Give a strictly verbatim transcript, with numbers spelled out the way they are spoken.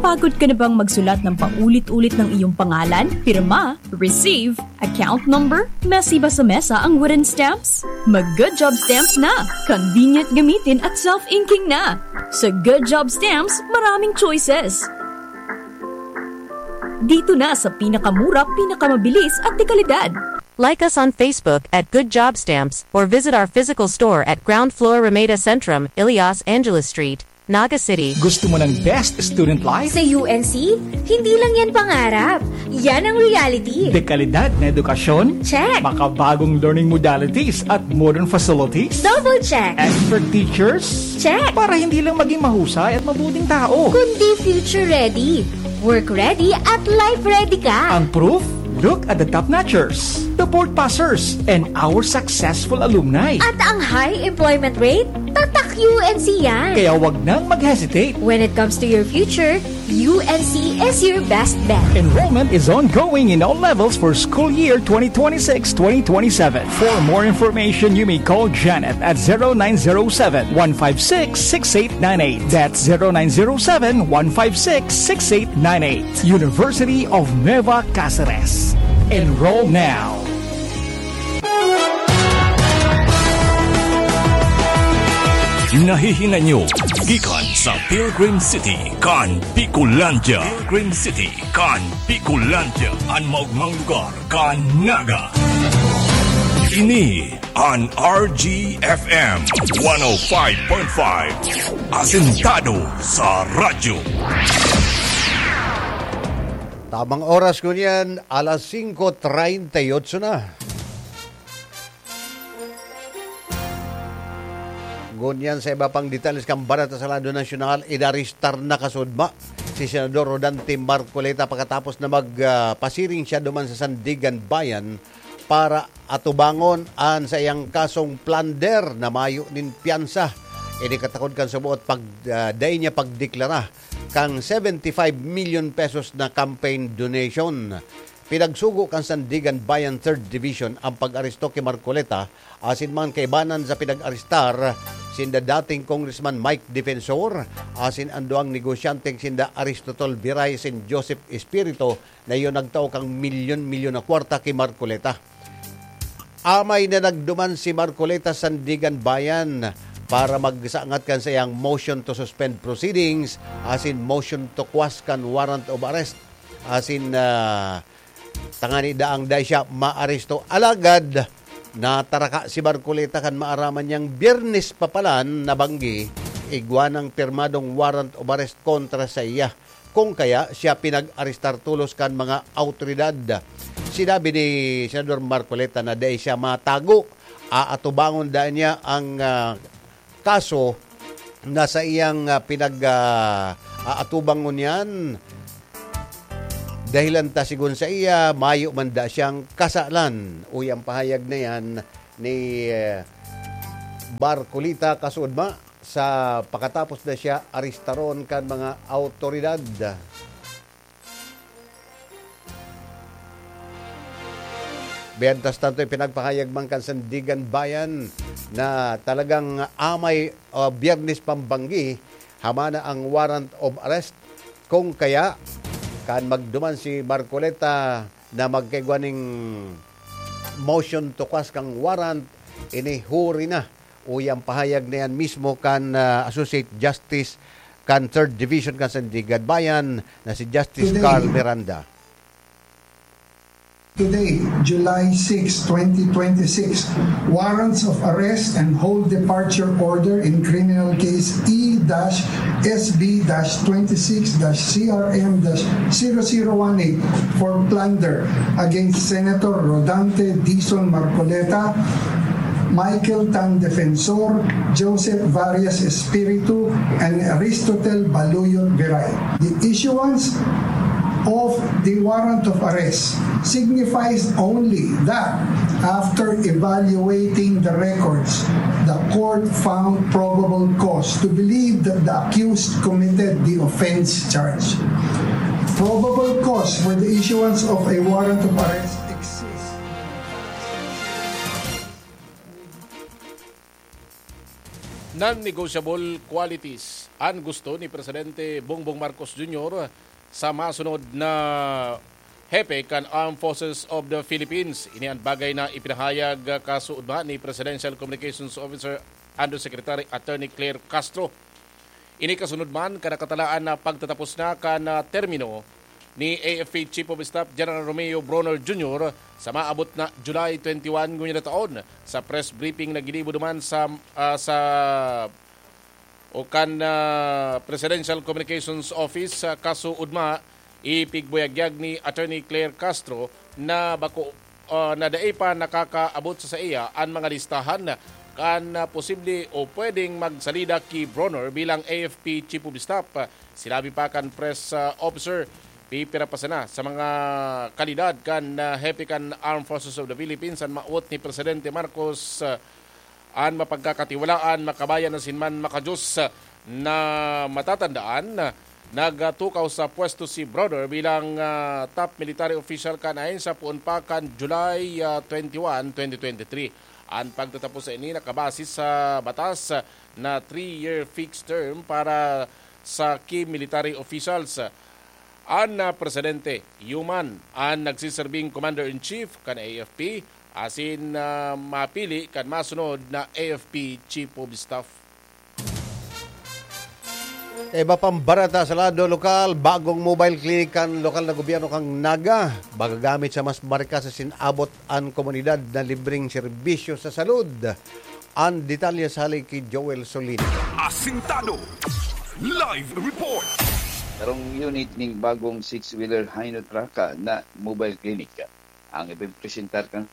Napapagod ka na bang magsulat ng paulit-ulit ng iyong pangalan, pirma, receive, account number, mesiba sa mesa ang wooden stamps? Mag Good Job Stamps na! Convenient gamitin at self-inking na! Sa Good Job Stamps, maraming choices. Dito na sa pinakamura, pinakamabilis at dekalidad. Like us on Facebook at Good Job Stamps or visit our physical store at ground floor Ramada Centrum, Ilias Angeles Street, Naga City. Gusto mo ng best student life? Sa U N C, hindi lang yan pangarap. Yan ang reality. Dekalidad na edukasyon? Check. Makabagong learning modalities at modern facilities? Double check. Expert teachers? Check. Para hindi lang maging mahusay at mabuting tao. Kundi future ready, work ready at life ready ka. Ang proof? Look at the top notchers, the board passers, and our successful alumni. At ang high employment rate? Tatak U N C yan. Kaya wag nang mag-hesitate. When it comes to your future, U N C is your best bet. Enrollment is ongoing in all levels for school year twenty twenty-six twenty twenty-seven. For more information, you may call Janet at zero nine zero seven, one five six, six eight nine eight. That's zero nine zero seven, one five six, six eight nine eight. University of Nueva Cáceres. Enroll now. Nahihinay nyo gikan sa Pilgrim City kan Bicolandia. Pilgrim City kan Bicolandia, an maogmang lugar kan Naga. Ini an R G F M one oh five point five, asentado sa radyo. Tamang oras ngunyan, alas singko treinta y ocho na. Ngunyan sa iba pang detalles kan bareta sa lado nasyonal, inarestar na kasudma si Senador Rodante Marcoleta pakatapos na mag, ah, pasiring siya duman sa Sandiganbayan para atubangon an saiyang kasong plunder na mayo nin piyansa. Ini katakod kan suboot pag, ah, dai niya pagdeklara kan seventy-five million pesos na campaign donation. Pinagsugo kan Sandiganbayan Third Division ang pag-aresto ki Marcoleta asin mga kaibanan sa pinag-arestar sinda dating Congressman Mike Defensor asin an duwang negosyanteng sinda Aristotol Viray asin Joseph Espirito na iyo nagtao kan milyon-milyon na kwarta ki Marcoleta. Amay na nagduman si Marcoleta sa Sandiganbayan para magsangat kan saiyang motion to suspend proceedings asin motion to quash kan warrant of arrest asin, ah, tangani daang dai siya maaresto. Alagad, nataraka si Marcoleta kan maaraman niyang Biyernes pa palan na banggi, igwa nang pirmadong warrant of arrest kontra saiya. Kung kaya, siya pinag-arestar tolos kan mga awtoridad. Sinabi ni Senador Marcoleta na dai siya matago. Aatubangon daa niya ang, ah, kaso na saiyang, ah, pinag, ah, aatubangon niyan. Dahilan ta, sigon saiya, mayo man daa siyang kasalan. Uya ang pahayag na yan ni, eh, Marcoleta Kasudma sa pakatapos na siya arestaron kan mga awtoridad. Mientras tanto, ipinagpahayag man kan Sandiganbayan na talagang amay, ah, Biyernes pambanggi, hamana ang warrant of arrest. Kung kaya, kan magduman si Marcoleta na magkaigwa ning motion to quash kang warrant, ini huri na. Uya ang pahayag na yan mismo kan, ah, Associate Justice kan Third Division kan Sandiganbayan na si Justice Today, Carl Miranda. Today, July six, twenty twenty-six, warrants of arrest and hold departure order in criminal case E dash S B dash twenty-six dash C R M dash zero zero one eight for plunder against Senator Rodante Dizon Marcoleta, Michael Tan Defensor, Joseph Varias Espiritu, and Aristotel Baluyot Viray. The issuance of the warrant of arrest signifies only that, after evaluating the records, the court found probable cause to believe that the accused committed the offense charge. Probable cause for the issuance of a warrant of arrest exists. Non-negotiable qualities an gusto ni Presidente Bongbong Marcos Junior sa masunod na hepe kan Armed Forces of the Philippines. Ini an bagay na ipinahayag kasuodma ni Presidential Communications Officer Undersecretary Attorney Claire Castro. Ini kasunod man kan nakatalaan na pagtatapos na kan, ah, termino ni A F P Chief of Staff General Romeo Bronner Junior sa maabot na July twenty-one ngunyan na taon. Sa press briefing na ginibo duman sa, ah, sa o kan, ah, Presidential Communications Office, ah, kasuodma, ipigbuyagyag ni Attorney Claire Castro na bako, ah, na dai pa nakakaabot sa saiya an mga listahan kan, ah, posible o pwedeng magsalida ki Bronner bilang A F P Chief of Staff. Sinabi pa kan press, ah, officer, pipira pa sana sa mga kalidad kan, ah, hepe kan Armed Forces of the Philippines an mawot ni Presidente Marcos, ah, an mapagkakatiwalaan, makabayan asin man makadiyos na matatandaan. Nagtukaw sa pwesto si Bronner bilang, ah, top military official kan ahensya poon pa kan July, ah, twenty-one, twenty twenty-three. An pagtatapos sa ini nakabase sa batas na three-year fixed term para sa key military officials. An, ah, presidente, iyo man an nagsiserbing commander-in-chief kan A F P, asin, ah, mapili kan masunod na A F P Chief of Staff. Iba pang bareta sa lado lokal, bagong mobile clinic kan lokal na gobyerno kan Naga. Magagamit sa mas marikas asin abot an komunidad na libreng serbisyo sa salud. An detalye sa hali ki Joel Solino. Asintado. Live report. Sarong unit ning bagong six-wheeler Hino Truck na mobile clinic ang ipipresentar kan